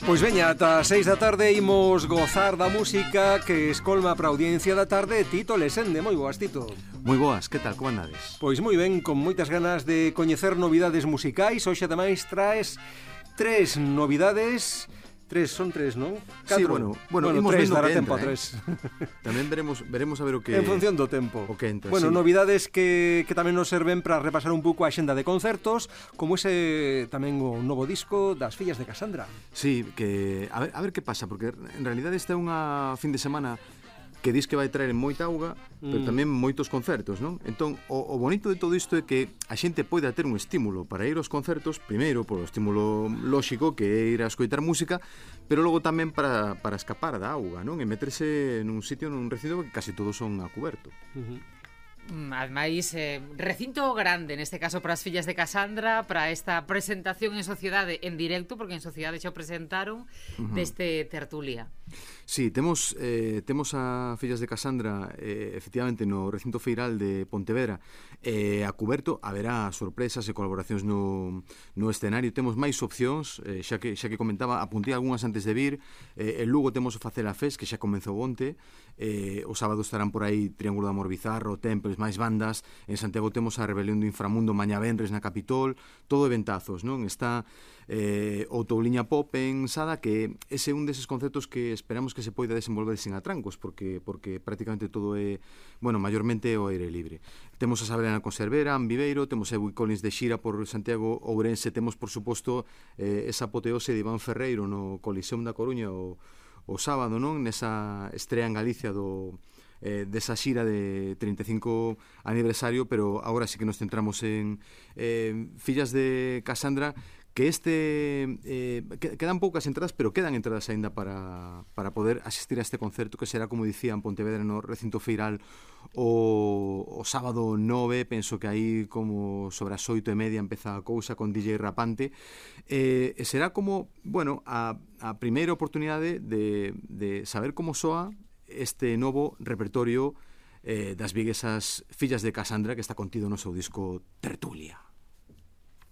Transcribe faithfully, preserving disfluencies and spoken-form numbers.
Pois veña, ata seis da tarde imos gozar da música que escolma para a audiencia da tarde Tito Lesende. Moi boas, Tito. Moi boas, que tal, como andades? Pois moi ben, con moitas ganas de coñecer novidades musicais. Hoxe ademais traes tres novidades. Tres, son tres, non? Catro. Sí, bueno, bueno, bueno tres, dará que tempo entra, a tres. Eh? Tamén veremos veremos a ver o que... En función do tempo. O que entra, bueno, sí. novidades que, que tamén nos serven para repasar un pouco a xenda de concertos, como ese tamén o novo disco das Fillas de Casandra. Sí, que a ver, a ver que pasa, porque en realidade esta é unha fin de semana que dis que vai traer moita auga, pero mm. tamén moitos concertos, non? Entón, o, o bonito de todo isto é que a xente poida ter un estímulo para ir aos concertos, primeiro, polo estímulo lóxico, que é ir a escoitar música, pero logo tamén para, para escapar da auga, non? E meterse nun sitio, nun recinto que casi todos son a cuberto. Uh-huh. Ademais, eh, recinto grande, neste caso para as Fillas de Casandra, para esta presentación en sociedade en directo, porque en sociedade xa o presentaron, uh-huh. deste tertulia. Sí, temos eh, temos a Fillas de Casandra eh, efectivamente no recinto feiral de Pontevedra, eh, a cuberto haberá sorpresas e colaboracións no, no escenario. Temos máis opcións, eh, xa que xa que comentaba, apuntei algunhas antes de vir. eh, en Lugo temos o Facela Fest, que xa comezou onte. eh, o sábado estarán por aí Triángulo de Amor Bizarro, Temples, máis bandas. En Santiago temos a Rebelión do Inframundo mañá venres na Capitol, todo eventazos, non? Está eh, o Touliña Pop en Sada, que ese é un deses conceptos que esperamos que se poida desenvolver sin atrancos, porque porque prácticamente todo é, bueno, maiormente o aire libre. Temos a Sabrina Conservera, en Viveiro, temos a Willy Collins de xira por Santiago Ourense, temos por suposto eh, esa apoteose de Iván Ferreiro no Coliseum da Coruña o, o sábado, non? Nesa estrea en Galicia do eh, desa xira de trinta e cinco aniversario, pero agora sí que nos centramos en eh, Fillas de Casandra, que este eh, quedan poucas entradas, pero quedan entradas aínda para, para poder asistir a este concerto, que será, como dicía, en Pontevedra no recinto feiral o, o sábado nove. Penso que aí como sobre as oito e media empeza a cousa con D J Rapante, eh, e será como, bueno, a, a primeira oportunidade de, de saber como soa este novo repertorio eh, das viguesas Fillas de Casandra, que está contido no seu disco Tertulia.